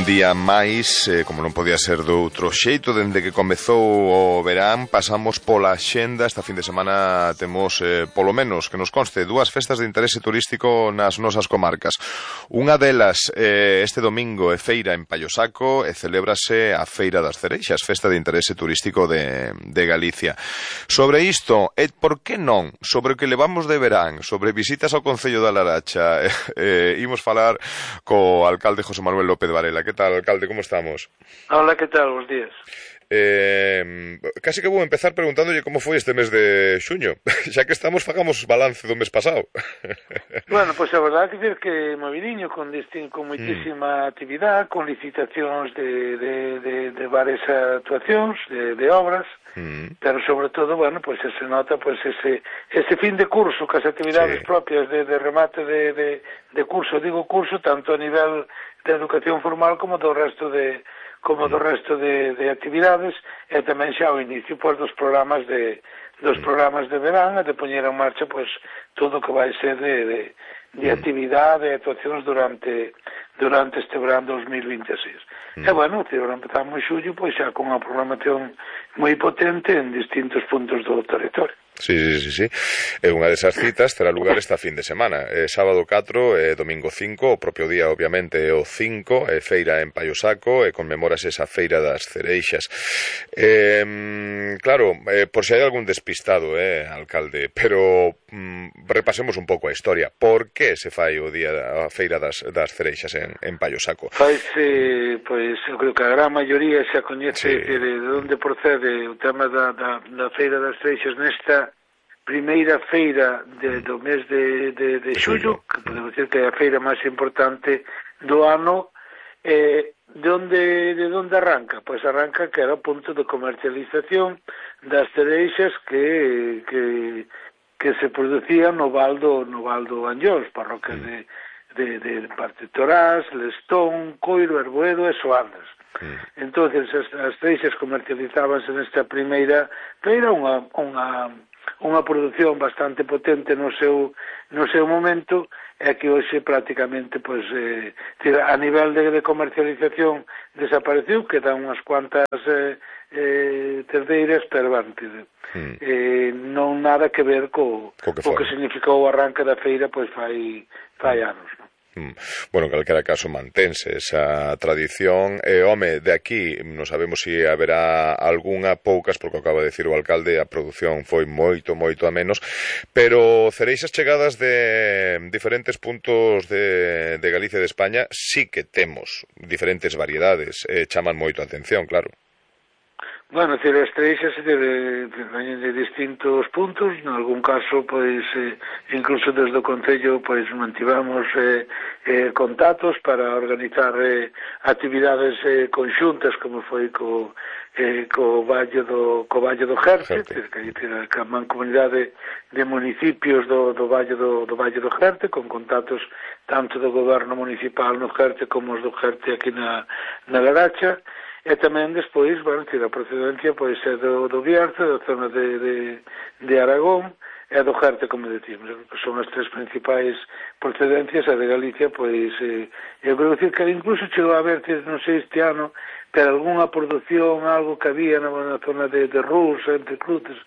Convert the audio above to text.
Un día máis, como non podía ser do outro xeito, dende que comezou o verán, pasamos pola xenda. Esta fin de semana temos, polo menos, que nos conste, dúas festas de interese turístico nas nosas comarcas. Unha delas, este domingo, é feira en Pallosaco e celébrase a Feira das Cereixas, festa de interese turístico de Galicia. Sobre isto, e por que non, sobre o que levamos de verán, sobre visitas ao Concello da Laracha, imos falar co alcalde José Manuel López Varela. Que tal, alcalde, como estamos? Hola, que tal? Bos días. Casi que vou empezar preguntándolle como foi este mes de xuño. Xa que estamos, fagamos balance do mes pasado. Bueno, pois a verdade é que movidiño, con moitísima actividade, con licitacións de varias actuacións, de obras, pero sobre todo, bueno, pois se nota pois ese fin de curso, que as actividades propias de remate de curso, digo curso, tanto a nivel de educación formal como do resto de actividades, e tamén xa ao inicio pois dos programas de verán, e de poñer en marcha pois todo o que vai ser de actividade e actuacións durante este verán 2026. E bueno, empezamos en xullo pois xa con unha programación moi potente en distintos puntos do territorio. Sí. E unha desas citas terá lugar esta fin de semana, sábado 4 e domingo 5, o propio día obviamente é o 5, feira en Pallosaco, e conmemorase esa feira das cereixas. Claro, por se hai algún despistado, alcalde, pero repasemos un pouco a historia. Por que se fai o día da feira das cereixas en Pallosaco? Faise, pois, eu creo que a gran maioría xa coñece de onde procede o tema da feira das cereixas nesta primeira feira do mes de xullo, que podemos dizer que é a feira máis importante do ano. De onde arranca? Pois arranca que era o punto de comercialización das cereixas que se producían no Val do Anllóns, parroquias de Partetorás, Lestón, Coiro, Erboedo e Soandas. Entonces as cereixas comercializábanse nesta primeira feira, unha produción bastante potente no seu momento, é que hoxe prácticamente pois a nivel de comercialización desapareceu, quedan unhas cuantas terdeiras, pero non nada que ver co que significou o arranque da feira pois fai anos, non? Bueno, en calquera caso mantense esa tradición e, home, de aquí non sabemos se haberá algunha, poucas, porque acaba de decir o alcalde, a produción foi moito a menos, pero cereixas chegadas de diferentes puntos de Galicia e de España sí que temos diferentes variedades, chaman moito a atención, claro. Bueno, as cereixas veñen de distintos puntos, en algún caso, pois, incluso desde o Concello, pois, mantivamos contactos para organizar actividades conxuntas, como foi co Valle do Jerte, que a mancomunidade de municipios do Valle do Jerte, con contactos tanto do goberno municipal no Jerte como os do Jerte aquí na Laracha. E tamén despois, bueno, a procedencia pois é do Bierzo, da zona de Aragón, e do Jerte, como decimos, que son as tres principais procedencias, a de Galicia, pois, eu creo que incluso chegou a haber, non sei este ano, pero algunha produción, algo que había na zona de Rus, entre Cruces,